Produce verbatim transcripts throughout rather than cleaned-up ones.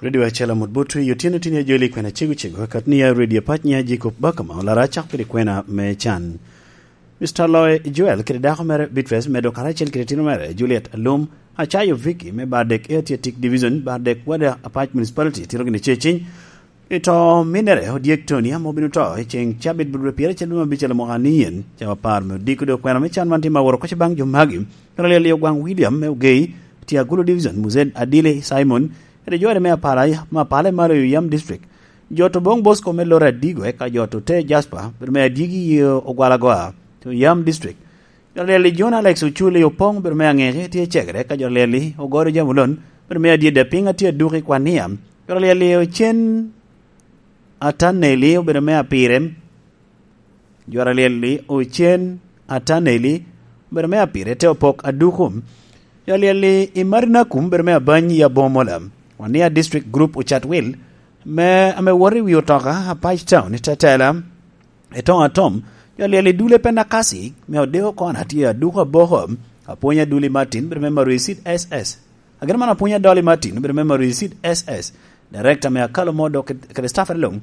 Redio acel amut bot i otyeno tini ajoli kwena cego cego, kat ni ya redio apac nya Jacob Bakama, olara acak piri kwena me can. Mister Loy Joel kede dako mere Beatrice medo karacel kede tino mere Juliet Alum, acayo Vicky me Bardek Athletic Division, Bardek Wada Apac Municipality, tiro gini ceciny. I to minere, odyek Tony ame obino to i ceŋ cabit bot dwe pyeto acel dwe me abicel mwaka ni yen, cawa apar me odiko dok kwena me can man tye ma woro koc baŋ jo magi. Kara lyel i Ogwaŋ William me Ogei, tye Agulu Division, Muzed Adili Simon, kede jore me Apala, me Apala i malo i Oyam District. Jot Oboŋ Bosco me Lore Adigo, eka jot Ote Jasper, bedo me adyegi i Ogwalagoa, to Oyam District. Jot lyel i John Alex Oculi Opoŋ, bedo me Aŋeke, tye Cegere, eka jot lyel i Ogodo Jamulon, bedo me Adyedde Apiŋ, atye Aduki Kwania. Jot lyel i Ocen Ataneli, obedo me Apirem. Jot lyel i Ocen Ataneli, obedo me Apire, te Opok Adukum. Jot lyel i Marinakum, obedo me Abany i Abomola. Wania District Group Ocatwil, me, ame woto i wi otoka, Apac Town, i Tetela. Etoŋo atom, jot lyel i Dule Penakasi, me Odeo Kona tye Aduku Aboko, Apwonya Duli Martin, bedo me Marui Seed S S. Agin man Apwonya Dolly Martin, bedo me Marui Seed S S. Director me Akalo Modo ked-, kede staff luŋ.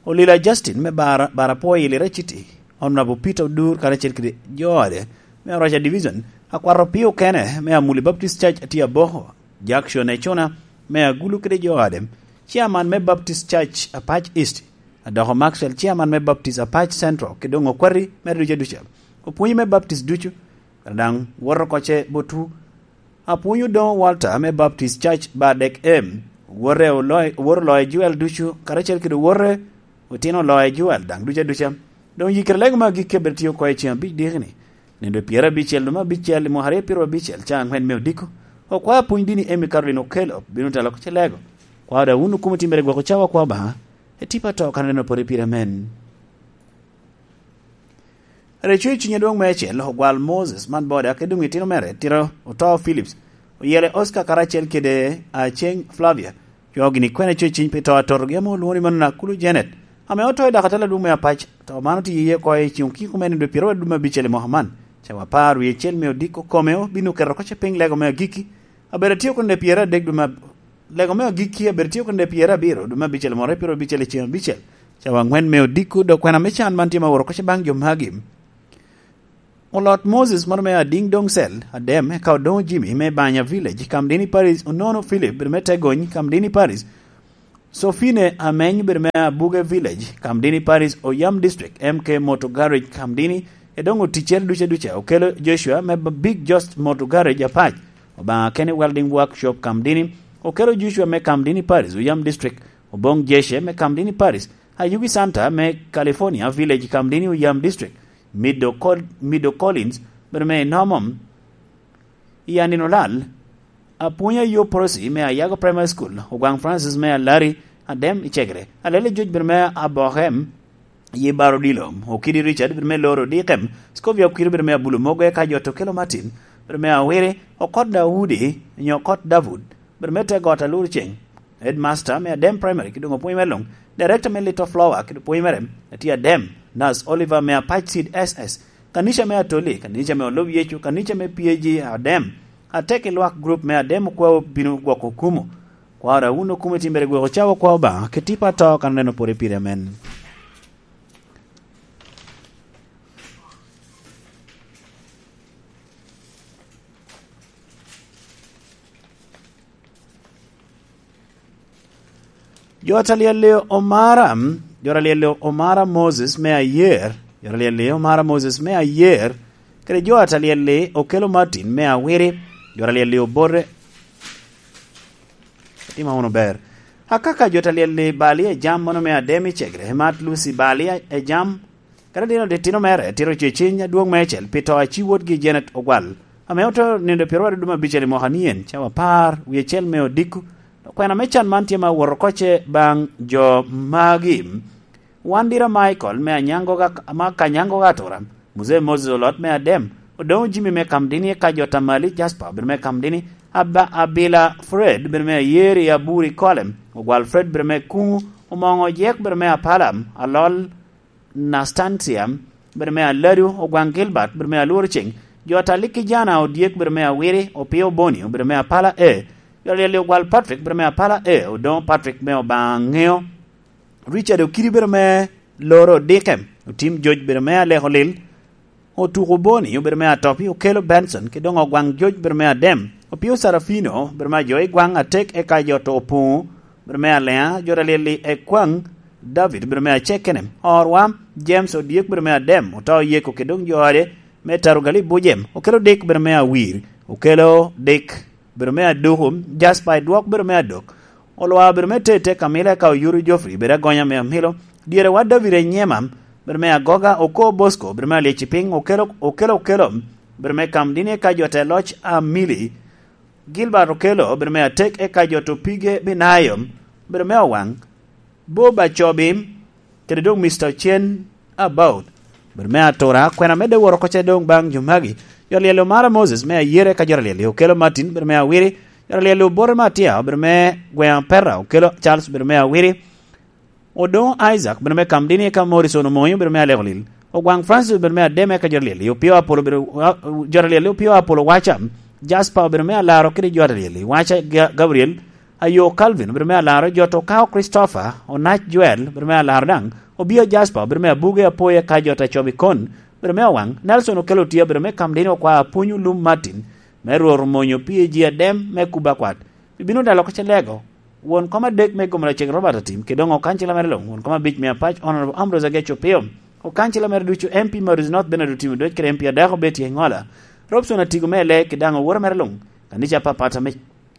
Olila Justin me Bara, Bara Poi i Lira City. Honorable Peter Odur karacel kede jo ode me Araca Division. Akwat Opio Kene me Amuli Baptist Church tye Aboko. Jackson Ecuna me Agulu kede jo ode. Chairman me Baptist Church Apac East. Adoko Maxwell, chairman me Baptist Apac Central, kede doŋ okwati mere ducu aduca. Opwonyi me Baptist ducu, kara daŋ woto oko ce botwu. Apwonyo doŋ Walter me Baptist Church Bardek M. Owote oloyo, owote oloyo Joel ducu, karacel kede owote otino oloyo Joel daŋ ducu aduca. Doŋ yikere lego me agikki abed tye oko i ceŋ abic diki-ni. Nino pyerabicel dwe me abicel i mwaka aryo pyerabicel, cawa aŋwen me odiko. Okwaya pwony dini Amy Caroline Okello, bino telo oko ce lego. Kwa da wun okumo timmere gwoko cawa kwa Obaŋa. Etipa to kan aneno pore pire amen. Reco i cunye dwong me acel, ogwal Moses man boda, ke doŋ itino mere, tiro oto Philips, oyele Oscar karacel kede Aceng Flavia, jo gini kwene co i ciny pi to atotogi ame olwoŋo ni mano Nakulu Janet, ame oto i dakatala dwong me apac, to man oti iye oko i ceng okiko me nindo pyero aduma abicel i mwaka man, cawa apar wie acel me odiko kome obino keto oko ce piny lego me agiki, abedo atye okone pyero adek duma Lego me agikki abedo tye okene pyerabiro dwe me abicel, mwaka pyerabicel i ceng abicel, cawa aŋwen me odiko, dok kwena me can man tye ma woro koc baŋ jo magi. Olot Moses moro me Ading Doŋ Cel, Adem, eka Odoŋo Jimmy me Banya Village, Kamdini Parish, Onono Philip, bedo me Tegony, Kamdini Parish, Sofine Ameny, bedo me Abuge Village, Kamdini Parish, Oyam District, M K Motor Garage, Kamdini, Edoŋ oticere duca duca, okelo Joshua me B-, Big Just Motor Garage apac, Obaŋa Kenny Welding Workshop Kamdini, okelo Joshua me Kamdini Parish, Oyam District, Oboŋ Jeshe me Kamdini Parish, Ayugi Santa me California Village Kamdini, Oyam District, Mido Col-, Mido Collins, bedo me Inomom, i Anino Lal, Apwony Ayo Prosi me Ayago Primary School, Ogwaŋ Francis me Alari, Adem i Cegere, Alele Joc bedo me Abokem, Ye Baro Odilo, Okidi Richard, bedo me Loro Dikem, Scovia Okwiri, bedo me Abulo Mogo, eka Jot Okelo Martin, bedo me Awiri, Okot Daudi, nyo Okot Davud, bedo me Te Got Alur Ceng, Headmaster me Adem Primary, ki doŋ opwony me luŋ, Director me Little Flower, ki doŋ opwony mere, Eti Adem, Nurse Oliver me Apac Seed S S, Kanica me Atoli, Kanica me Olub Yecu, Kanica me P A G Adem, Ateki Lwak Group me Adem Okwao bino gwoko okumo, Kwaro a wun okumo itimmere gweko cawa kwa Obaŋa, keti pa to kan oneno pore pire amen. Jo a talyel-li omara, jo a talyel-li omara Moses me ayer, jo a talyel-li omara Moses me ayer, kede jo a talyel-li okelo Martin me awiri, jo a talyel-li obote, Atima wunu ber. Akaka jo talyel-li bali ejam mono me Adem i Cegere, Mat Lucy bali ejam, kadi dino ditino mere, tito ceciny adwoŋ meicel pi to a ci wotgi Janet Ogwal, ame oto nindo pyero aduma abicel i mwaka nien, cawa apar, wie acel me odiko. Okwena me can man tye ma owoto oko ce baŋ jo magi. Wandira Michael me Anyango ga-, ma Kanyango ga Atura, Mzee Moses Olot me Adem, Odoŋo Jimmy me Kamdini, eka jo Tamali Jasper bedo me Kamdini, Aba-, Abila Fred bedo me Ayeri, Aburi Kolem, Ogwal Fred bedo me Kuŋu, Omoŋo Ojek bedo me Apalam, Alol Nastancia bedo me Aladu, Ogwaŋ Gilbert bedo me Alworo Ceng, jo Atali Kijana Odyek bedo me Awiri, Opio Boni bedo me Apala A, Jor alyel-li ogwal Patrick bedo me apala e, Odongo Patrick me Obaŋa Ŋeo, Richard Okidi bedo me Loro Dikem, Otim Joc bedo me Aleko Lil, Otuko Boni obedo me Atopi, Okelo Benson, kede doŋ Ogwaŋ Joc obedo me Adem, Opio Sarafino obedo me Ajo i Gwaŋ Atek, eka jo to Opuŋo obedo me Aleŋa, jor alyel-li Ekwaŋ David obedo me Acekene, Orwa James Odyek obedo me Adem, Oto Yeko kede doŋ jo ode me Tarugali Bujem, Okelo Dik obedo me Awir, Okelo Dik obedo me Aduku, Jasper Edwok obedo me Adok, Olwa obedo me Tete Kamila, eka Oyuru Geoffrey obedo Agonya me Amilo, Dyere wa David Enyema obedo me Agoga, Oko Bosco obedo me Alyeci Piny, Okelo, Okelo, Okelo obedo me Kamdini, eka jo te loc Amili, Gilbert Okelo obedo me Atek, eka jo to Pige Binayo obedo me Owaŋ, Bob Acobi, kede doŋ Mister Cen About, obedo me Atura, kwena medde woro oko ce doŋ baŋ jo magi. Jor alyel-li Omara Moses me Ayere, eka jor alyel-li Okelo Martin obedo me Awiri, jor alyel-li Obote Matia obedo me Gweŋ Apeta, Okelo Charles obedo me Awiri, Odongo Isaac obedo me Kamdini, eka Morrison Omoyo obedo me Aleko Lil, Ogwaŋ Francis obedo me Adem, eka jor alyel-li Opio Apolo obedo, jor alyel-li Opio Apolo Waca, Jasper obedo me Alaro kede jor alyel-li Waca Ga-, Gabriel, Ayo Calvin obedo me Alaro, jo to Kao Christopher, Onac Joel obedo me Alaro daŋ, Obia Jasper obedo me Abuge Apoya, eka jo to Acobi Kon obedo me Owaŋ, Nelson Okelo Otia obedo me Kamdini, Okwa Apwony Olum Martin me Rwot Omonyo P A G Adem me Kuba Akwat, Bibino Dalo Kocalego, won kom adek me Gomra Ceng Robert Atim, kede doŋ okancila mere luŋ, won kom abic me Apac Honorable Ambrose Ageco Opio, okancila mere ducu M P Maurice North Bernard Otimo Dwec kede M P adako Betty Engola, Robson Atigo me Ele, kede daŋ owora mere luŋ, kanica apapat ame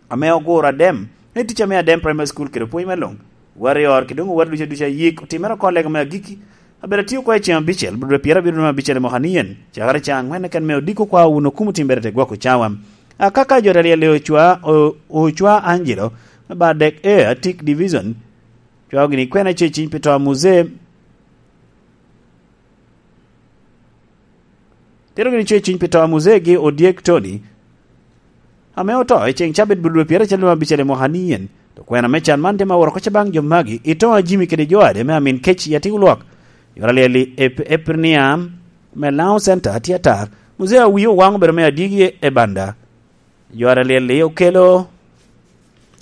ame oguro Adem, me tic ame Adem Primary School kede pwony me luŋ, warior kede doŋ owar ducu aducu ayik otimere oko lega me agikki, abedo atio oko i ceŋ abicel, dwe pyerabiro dwe me abicel i mwaka ni yen, cakere ceŋ aŋwen keken me odiko kwa wun okumo timbere te gwoko cawa. Akaka jo aryel i Ocwa, O-, Ocwa Angelo, me Bardek A, Atik Division, cwao gini kwena ce ciny pi to a Muzee. Tito gini co i ciny pi to a Muzee gi Odyek Tony, ame oto i ceŋ cabit bulu dwe pyeracel dwe abicel i mwaka ni yen. To kwena me can man tye ma woro koca baŋ jo magi, i to a Jimmy kede jo ade me Amin Kec i Atik Olwok. Yore alyel i Ep-, Eprinia me Laŋo Center tye atar. Muzee Awi Owaŋ obedo me adigi e Banda. Jor alyel-li Okelo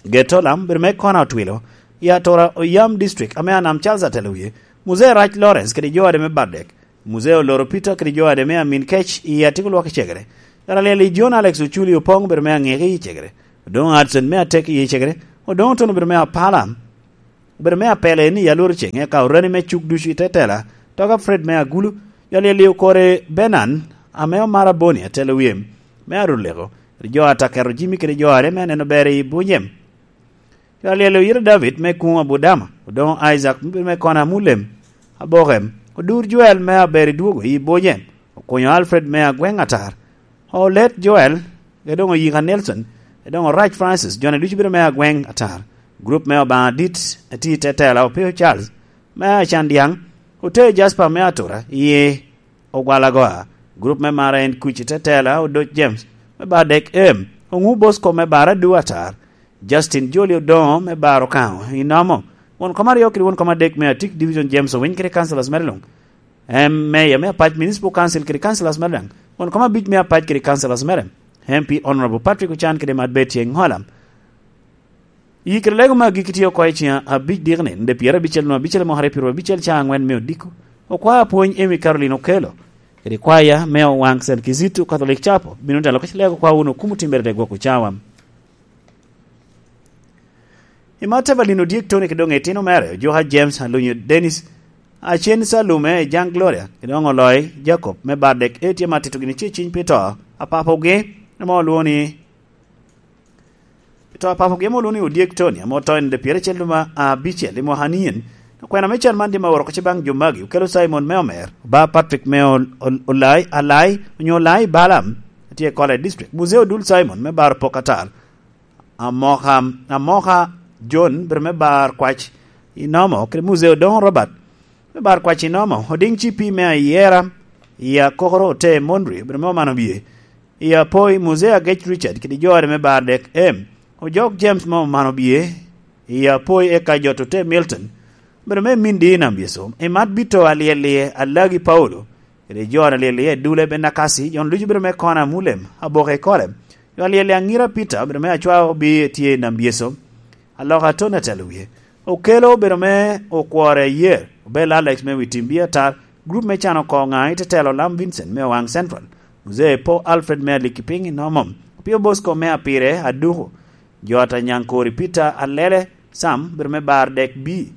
Getolam, bedo me Kona Otwilo, i Atora Oyam District, ame Anam Charles atelo wie, Muzee Rac Lawrence kede jo ade me Bardek, Muzee Oloro Peter kede jo ade me Amin Kec i Atik Olwok i Cegere. Jor alyel-li John Alex Oculi Opoŋ, bedo me Aŋeke i Cegere, Odoŋo Hudson me Atek i Cegere, Odoŋo Tono, bedo me Apala, obedo me apele ni ya lworo ceŋ, eka orani me cuk ducu i te tela, Toga Fred me Agulu, jo alyel-li Okore Benan, ame Omara Boni atelo wie, me Aruleko, kede jo a Taketo Jimmy kede jo are me aneno ber i Bunyem. Jo alyel Oyito David me Kuŋ Abudama, Odoŋo Isaac me, me Kona Amulem, Abokem, Odur Joel me Aber i Dwogo i Bunyem, Okunyo Alfred me Agweŋ Atar, Olet Joel, kede doŋ Oyika Nelson, kede doŋ Orac Francis, jone ducu bedo me Agweŋ Atar. Grup me Obaŋa Dit, ati te tela Opio Charles, me Acan Dyaŋ, Ote Jasper me Atura, iye Ogwalagoa. Grup me Mara en Kuc, ite tela Odoc James, me Bardek Em, Oŋu Bosco me Baradu Atar, Justin Joli Odoŋo me Bar Okaŋo, Inomo, won kom aryo kede won kom adek me Atik Division James Owiny kede councillors mere luŋ. Em, Mayor me Apac Municipal Council kede councillors mere daŋ. Won kom abic me Apac kede councillors mere. M P Honorable Patrick Ocan kede Mad Betty Engola. Yi kede lego me agikki tye oko i ceŋ abic dikni, de pyerabicel nwa abicel i mwaka aryo pyerabicel ca aŋwen me odiko. Okwaya pwony Amy Caroline Okelo, kede kwaya me Owaŋ Saint Kizito Catholic Chapel, bino telo ka lego kwa wunu okumo timbere de gwoko cawa. I mat Evelyn Odyek Tony kede doŋ itino mere, Ojoka James Alunyo Dennis, Acen Salume, Jan Gloria, kede doŋ Oloi Jacob me Bardek, e tye ma tito gini ce ciny pi to a papogi, ame olwoŋo ni, pi to a papogi ame olwoŋo ni Odyek Tony, ame oto i nino pyeracel dwe ma abicel i mwaka nien. Okwena me can man tye ma oro koce baŋ jo magi, Okelo Simon me Omer, Oba Patrick me Ol-, Ol-, Olai, Alai, onyo Olai Balaam, tye i College District, Muzee Odul Simon me Bar Pok Atar, Amoka, Amoka John, bedo me Bar Kwac i Nomo, kede Muzee Odoŋo Robert, me Bar Kwac i Nomo, Odiŋ Cipi me Ayera, i Akokoro Ote Mondri, bedo me Omano Bie, i Apoi, Muzee Agec Richard, kede jo ode me Bar Dek Em, Ojok James me Omano Bie, i Apoi, eka Jot Ote Milton, bedo me Mindi i Nam Yecu, i Mat Bito Alyel-li Alagi Paulo, kede jo alyel iye Dule Benakasi, jo ducu bedo me Kona Mulem, Aboke i Kole, Yo alyel Aŋira Peter obedo me Acwao, bi tye i Nambyeso, Aloka Tony atelo wie. Okelo obedo me Okwore Ayer, Obel Alex me Witimbi Atar, grup me Cano Oko Ŋaŋ i Tetelo Lam Vincent me Owaŋ Central, Muzee Po Alfred me Alikipiny i Nomo, Opio Bosco me Apire Aduku, Jota Nyaŋkori Peter Alele, Sam obedo me Bar Dek B.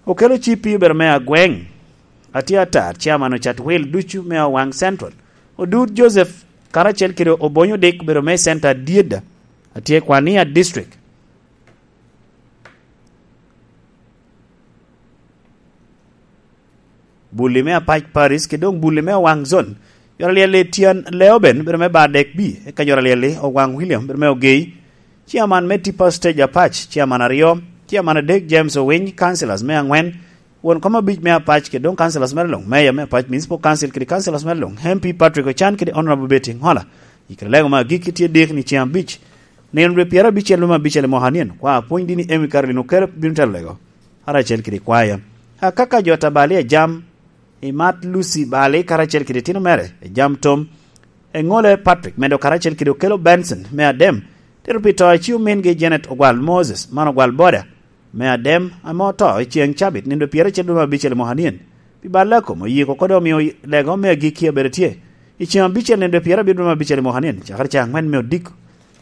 Okelo Cipi obedo me Agweŋ, Atye Atar, Chairman Ocat Wil ducu me Owaŋ Central, Odut Joseph karacel kede Obonyo Dik obedo me Center Dyeda, Atye Kwania District. Bulli me Apac Paris, kede doŋ Bulli me Owaŋ Zone. Jor alyel-li Tian Leoben obedo me Bar Dek B, eka jor alyel-li Owaŋ William obedo me Ogei. Chairman me Tipa Stage Apac, Chairman aryo, Chairman adek James Owiny, Councillors me aŋwen, won kom abic me Apac, kede doŋ Councillors mere luŋ, Mayor me Apac Municipal Council kede Councillors mere luŋ, M P Patrick Ocan kede Honorable Betty Ŋola. Ikre lego me agikki tye dikni ceŋ abic, nino dwe pyerabicel me abicel i mwaka nien, kwa apwony dini Emmy Caroline Oker bino telo lego, karacel kede kwaya. Akaka jo Tabali Ajam, Imat Lucy Bali karacel kede itino mere, Ejam Tom, Eŋole Patrick, medo karacel kede Okelo Benson me Adem, tito pi to a ci omingi Janet Ogwal Moses, man Ogwal Boda, me Adem, ame oto i ceŋ cabit, nino dwe pyerabicel dwe me abicel i mwaka nien. Pi balle a kom, oyiko kodi omio lego me agikki abedo tye i ceŋ abicel, nino dwe pyerabiro dwe me abicel i mwaka nien, cakere ceŋ aŋwen me odiko.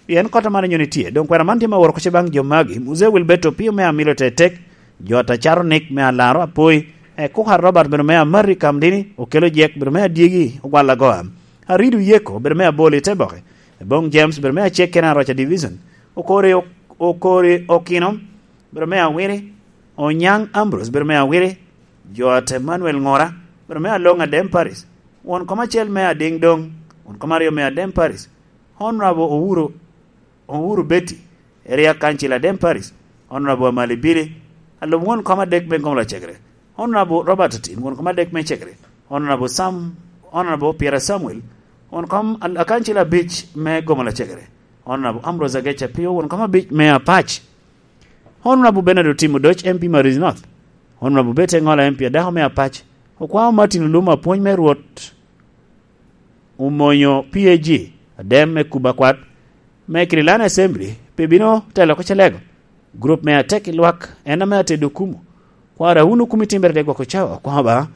Pien kota man nyoni tye, doŋ kwena man tye me woro kuc baŋ jo magi, Muzee Wilberto Opio me Amilo Tetek, Jota Caronik me Alaro Apoi, Ekuka Robert bene me Amari Kamdini, Okelo Jek bene me Adyegi Ogwal Agoa, Aridu Yeko bene me Aboli Teboke, Ebong James bene me Acek kene Aroca Division, Okori, Okori Okino bene me Awiri, Onyaŋ Ambrose bene me Awiri, Jot Emmanuel Ŋora bene me Aloŋ Adem Paris, won kom acel me Adiŋ Doŋ, won kom aryo me Adem Paris, Honorable Owuro, Owuro Betty, Area Council Adem Parish, Honorable Amali Billy, alub won kom adek me Gomola Cegere, Honorable Robert Otim, won kom adek me Cegere, Honorable Sam, Honorable Pierre Samuel, won kom al-, akancil abic me Gomola Cegere, Honorable Ambrose Ageca Pio, won kom abic me Apac, Honorable Bernard Otim Odoc, M P Maris North, Honorable Betty Ŋola, M P adako me Apac, Okwao Martin Olum, apwony me Rwot, Omonyo P A G, Adem me Kuba Kwat, me Kirilani Assembly, pe bino telo oko Calego. Grup me Atek i Lwak, en ame atedo Okumu. Kwara wun Okumu itimbere de gwoko cawa, Okwao ba.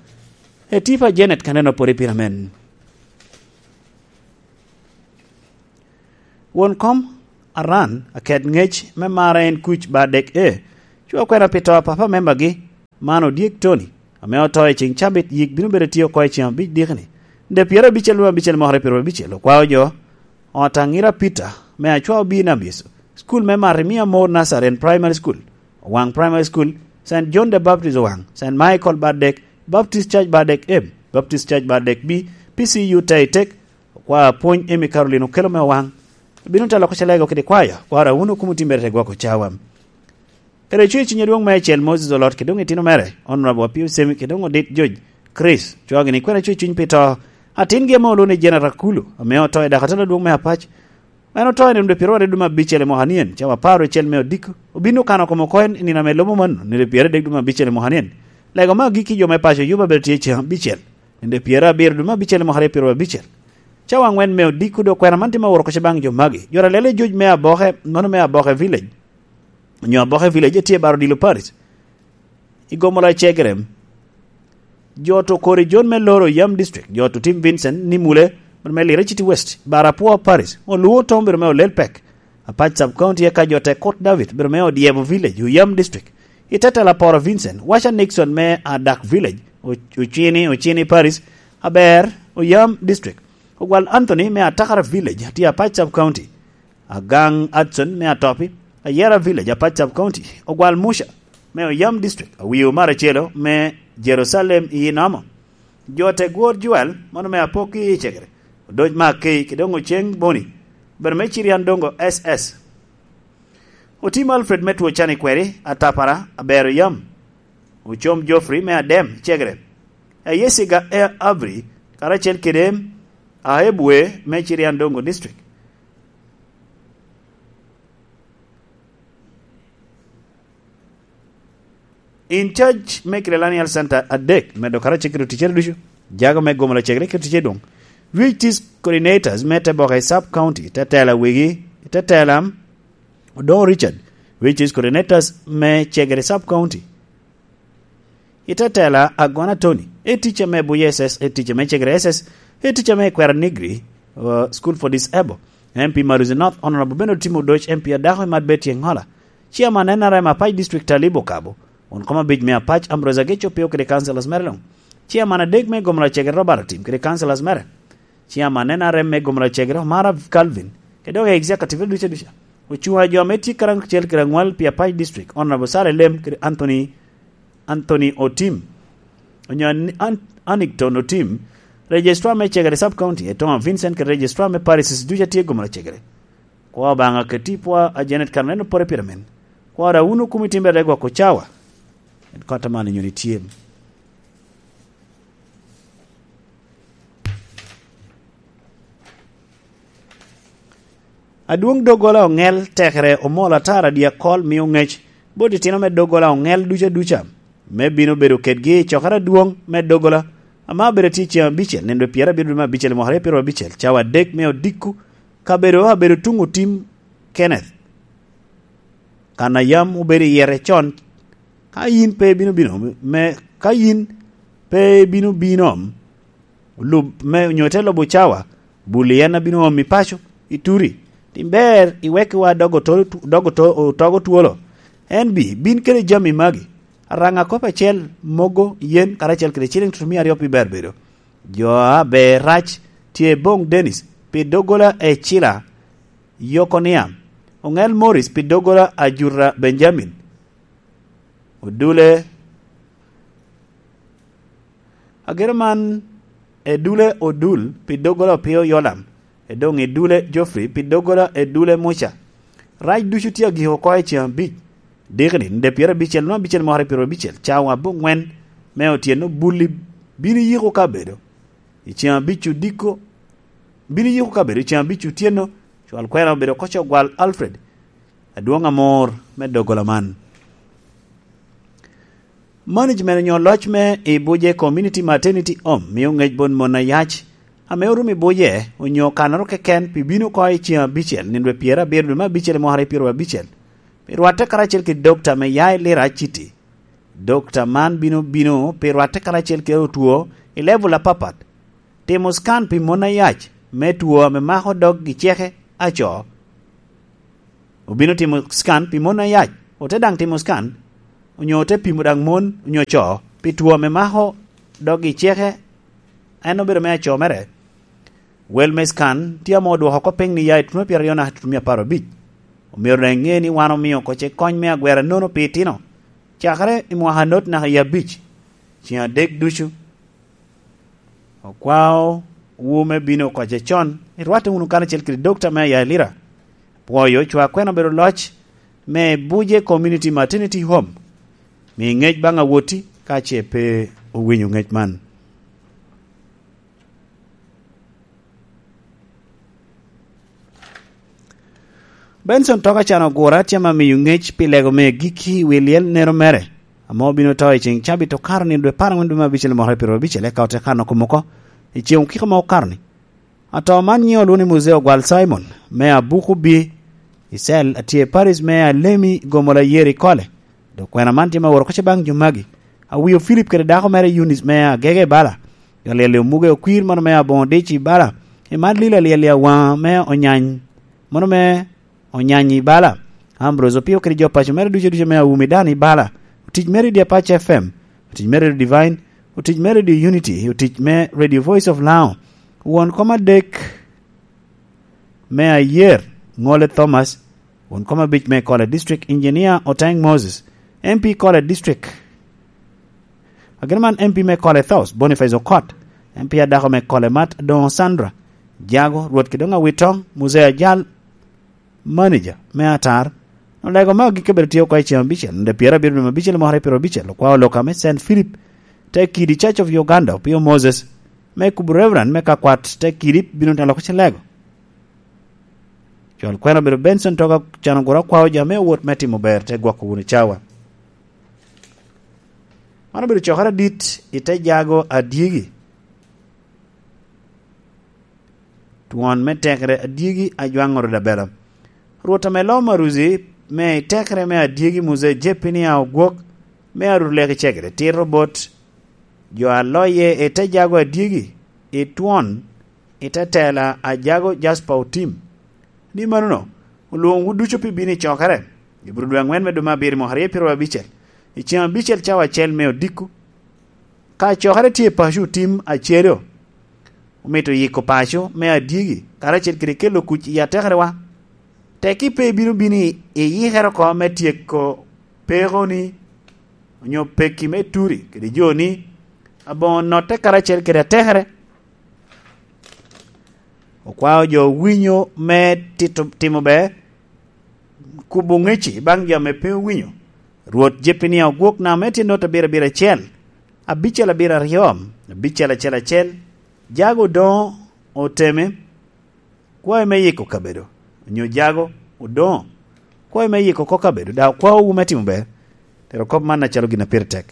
Etipa Janet kaneno pwod i pira men. Won kom Aran, aket ŋec me mara en kuc ba dek e. Cwa kwena pi to a papa membagi, man Odyek Tony, ame oto i ceŋ cabit, yik bino bedo tye oko i ceŋ abic dikni. Nde pyerabicel me abicel mokere pyerabicel, okwao jo, ot Aŋira Peter, me Acwa Obii Nambyeso, school me Marimia Moore Nursery and Primary School, Owaŋ Primary School, Saint John the Baptist Owaŋ, Saint Michael Badek, Baptist Church Badek M, Baptist Church Badek B, P C U Taitek, okwao apwony Emmy Caroline Okelo me Owaŋ, bino telo oko Calego kede kwaya, kwara wun Okumu itimbere te gwoko cawa. Kede cwer cuny adwoŋ meicel Moses Olot kede doŋ itino mere, Honorable Apio Semi kede doŋ Odit George Chris, cwagini kwena cwer cuny pi to atingi ame olwoŋo ni Janet Akulu, ame oto i dakatela adwoŋ me Apac. En oto i nino dwe pyeraryo dwe me abicel i mwaka nien, cawa apar ocel me odiko. Obin okano kome oko i nino ame lubo mano, nino dwe pyeradek dwe me abicel i mwaka nien. Lego me agikki jo me paco Juba bedo tye ceŋ abicel, nino dwe pyerabiro dwe me abicel i mwaka aryo pyerabicel. Cawa aŋwen me odiko dok kwena man tye me woro kuc baŋ jo magi. Jo Ralele George me Aboke, nono me Aboke Village, onyo Aboke Village, etye i Baro Dilo Parish, i Gomola Cegere. Jo to kori John me Loro Yam District, jo to Tim Vincent ni Mule, me Lira City West, Barapua Parish, Oluo Tom biro me Olel Pek, Apac Sub County, eka jo te Kot David biro me Odyebo Village, Oyam District, i Tetela Poro Vincent, Washa Nixon me Adak Village, O-, Ocini, Ocini Parish, Aber, Oyam District, Ogwal Anthony me Atakara Village, tye Apac Sub County, Agaŋ Hudson me Atopi, Ayera Village, Apac Sub County, Ogwal Muca me Oyam District, Awiu Maracelo me Jerusalem i Inamo, jo te Gwor Joel, mano me Apok i Cegere, Odoc Makei, kede doŋ Oceng Boni, obedo me Cirian Dongo S S. Otim Alfred me Two Cani Kweri, Atapara, Abero Yam, Ocom Geoffrey me Adem, Cegere, Ayesiga e Abri, karacel kede Aebwe me Cirian Dongo District. In charge me Kilelani Health Center adek, medo karacel kede ticere ducu, jago me Gomola Cegere kede ticere dwoŋ. Reach Teach Coordinators me Teboka i Sub County, te tela wigi, te tela Odongo Richard, Reach Teach Coordinators me Cegere Sub County. I te tela Agona Tony, e teacher me Buya S S, e teacher me Cegere S S, e teacher me Kwera Negri, uh, School for Disabled. M P Maruzi North, Honorable Bernard Timo Odoc, M P adako i Madbeti Engola. Chairman N R M Apac District Talib Okabo, won kom abic me Apac Ambrose Ageco Pio kede councillors mere luŋ. Chairman adek me Gomla Cegere Robert Otim kede councillors mere. Chairman N R M me Gomla Cegere Omara Calvin, kede doŋ executive duca duca. Ocuŋ a jo ame tye karacel kede aŋwal pi Apac District, Honorable Sara Elem kede Anthony, Anthony Otim. Onyo An-, An-, Anigton Otim, Registrar me Cegere Sub County, Etoma Vincent kede Registrar me Parishes duca tye Gomla Cegere. Kwa Obaŋa keti pwa a Janet Carolina Pore Pyramen. Kwa da wunu kumi timbe de gwoko cawa. En kota man inyo ni tye. Adwoŋ doggola oŋel tekere omol atara dyakol mio ŋec bot itino me doggola oŋel duca duca, me bino bedo kedgi i cokere adwoŋ me doggola, ame abedo tye ceŋ abicel, nino pyerabiro dwe me abicel i mwaka aryo pyerabicel, cawa adek me odiko, kabedo abedo tuŋ Otim Kenneth. Kan a yam obedo i yere con, ka yin pe ibino bino, me, ka yin pe ibino bino, lub me, onyo ite lubo cawa, bul i en a bino omi paco, i turi. Tim ber, iwekkiwa dog otol-, dog oto-, otogo twolo. En bi, bin kede jami magi. Araŋ akop acel, mogo, yen, karacel kede ciliŋ tutumia aryo pi ber bedo. Jo a ber rac tye boŋ Dennis, pi doggola e Cila, Yokonia. Oŋel Morris pi doggola a Jura Benjamin. Odule, agero man, Edule Odul pi doggola Opio Yolam. Edoŋ Edule Geoffrey pi doggola Edule Muca. Rac ducu tye agiko oko i ceŋ abic. Dikni, nde pyerabicel nwa abicel mwaka pyerabicel, cawa aboŋwen me otyeno bulli bino yiko kabedo. I ceŋ abic odiko, bino yiko kabedo i ceŋ abic otyeno, cwal kwena obedo oko Cogwal Alfred, adwoŋ amor me doggola man. Management onyo loc me i Buje Community Maternity Home mio ŋec bot mon ayac, ame orumo i Buje, onyo kanoro keken pi bino oko i ceŋ abicel, nino dwe pyerabiro dwe me abicel i mwaka aryo pyerabicel, pi rwatte karacel kede dokta me ya i Lira City. Dokta man bino bino pi rwatte karacel kede otwo i level apapat. Timo scan pi mon ayac me two ame mako dog i ceke aco. Obino timo scan pi mon ayac, ote daŋ timo scan, onyo ote pimo daŋ mon onyo co pi two ame mako dog i ceke, en obedo me aco mere. Wel me scan tye ame odwoko oko piny ni ya i tutumia pyeraryo naka tutumia apar abic. Omyero daŋ iŋe ni wan omio koce kony me agwera nono pi itino, cakere i mwaka anot naka i abic, ceŋ adek ducu. Okwao wu me bino koce con, irwatte wunu karacel kede dokta me Ayailira. Pwoyo cwa kwena obedo loc me Buje Community Maternity Home. Mi ŋec baŋ awoti ka ce pe owinyo ŋec man. Benson Toka can ogura tye ma miyo ŋec pi lego me gikki i wi lyel nero mere, ame obino to i ceŋ cabit okato ni dwe apar aŋwen dwe me abicel mwaka pyerabicel, eka ote kano kom oko i ceŋ okiko ma okato ni. Ato man nyiŋe olwoŋo ni Muzee Ogwal Simon, me Abuku Bi, i cel a tye i parish me Alemi, Gomola Yeri Kole. Dok kwena man tye ma woro koc baŋ jo magi. Awio Philip kede dako mere Eunice me Agege i bala. Alyel i Omuge Okwir, mano me Aboŋo Dic i bala. I man Lila Alyel i Awaŋa me Onyany, mano me Onyany i bala. Ambrose Opio kede jo paco mere ducu ducu me Awumi Dan i bala. Otic mere i Dyapac F M. Otic me Radio Divine. Otic me Radio Unity. Otic me Radio Voice of Lao. Won kom adek me Ayer, Ŋole Thomas, won kom abic me Kole District, Engineer Oteng Moses, M P Kole District. Agin man M P me Kole South, Boniface Okot, M P adako me Kole Mat, Doŋo Sandra, Jago, Rwot Kidoŋ Awitoŋ, Muzee Ajal, manager me Atar, olego me agikki bedo tye oko i ceŋ abicel, nde pyerabiro dwe me abicel mwaka aryo pyerabicel, okwao loka me Saint Philip, te kidi Church of Uganda, Opio Moses, me kubo Reverend me kakwat te kidi bino telo ko cilego. Cwal kwena obedo Benson Toga can oguro akwao jo ame owot me timo ber te gwoko wunu cawa. Man obedo cokere adit i te jago adyegi. twon me tekere adyegi ajwaŋoro dabela. Rwot ame loo maruzi me tekere me adyegi Muze Jepinia ogwok me arut leki cegere tito bot jo a loye i te jago adyegi i twon i te tela a jago Jaspa otim. Ni manono, olwoŋowu ducu pi bino i cokere. Ibro dwe aŋwen me dwe me abiro i mwaka aryo pyeraryo abicel, i ceŋ abicel cawa acel me odiko. Ka cokere tye i paco otim acelo, omito yiko paco me adyegi, karacel kede kelo kuc i atekerewa. Tekki pe ibino bino i iyikere oko me tyeko pekoni, onyo pekki me turi kede joni, aboŋo notte karacel kede atekere. Okwao jo winyo me tito, timo ber, kubo ŋeci baŋ jo ame pe owinyo. Rwot Jepinia ogwok namo me tye not abiro abiro acel, abicel abiro aryo, abicel acel acel, jago odoŋo oteme, kwayo me yiko kabedo, onyo jago odoŋo, kwayo me yiko oko kabedo, daŋ okwaowu me timo ber. Tero kop man acalo gin a pire tek.